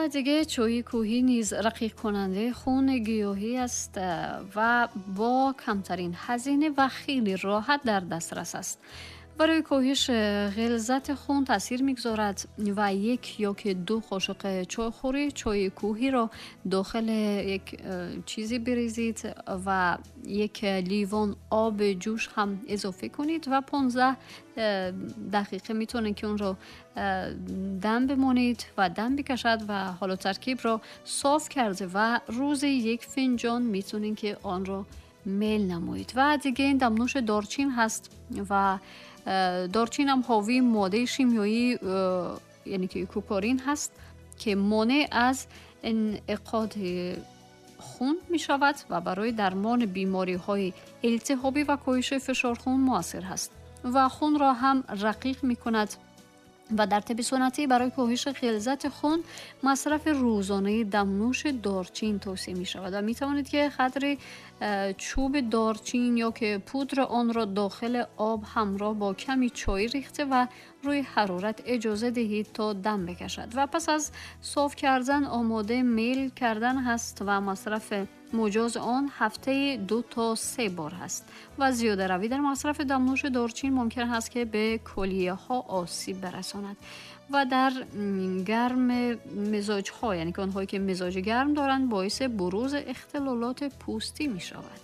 Ва диге чойи кӯҳӣ низ рақиқкунандаи хуни гиёҳӣ аст ва бо камтарин ҳазина ва хеле роҳат дар дастрас аст. Барои коҳиш ғилзати хун таъсир мегузорад ва як ё ки ду қошуқи чойхӯрӣ чойи кӯҳиро дохили як чизе бирезид ва як ливон оби ҷӯш ҳам изофа кунед ва 15 дақиқа метавонед, ки онро дам бимонед ва дам бикашад. Ва ҳоло таркибро соф карда ва рӯзи як финҷон метавонед, ки онро мел намоед. Ва диге ин дамнӯши дорчин ҳаст ва дорчин ҳам ҳовии моддаи шимёӣ, яъне ки кукорин ҳаст, ки монеъ аз инъиқоди хун мешавад ва барои дармони бемориҳои илтиҳобӣ ва коҳиши фишорхун муассир ҳаст ва хунро ҳам рақиқ мекунад. Ва дар тибби суннатӣ барои коҳиши ғилзати хун масрафи рӯзонаи дамнӯши дорчин тавсия мешавад ва метавонед, ки қадри чӯби дорчин ё ки пудри онро дохили об ҳамроҳ бо ками чой рехта ва рӯи ҳарорат иҷоза диҳед, то дам бикашад ва пас аз соф кардан омода мел кардан ҳаст ва масрафи муҷози он ҳафтаи 2 то 3 бор ҳаст. Ва зиёдаравӣ дар масрафи дамнӯши дорчин мумкин ҳаст, ки ба кулияҳо осиб барасонад ва дар гарм мизоҷҳо, яъне ки онҳое ки мизоҷи гарм доранд, боиси бурузи ихтилолоти пӯстӣ мешавад.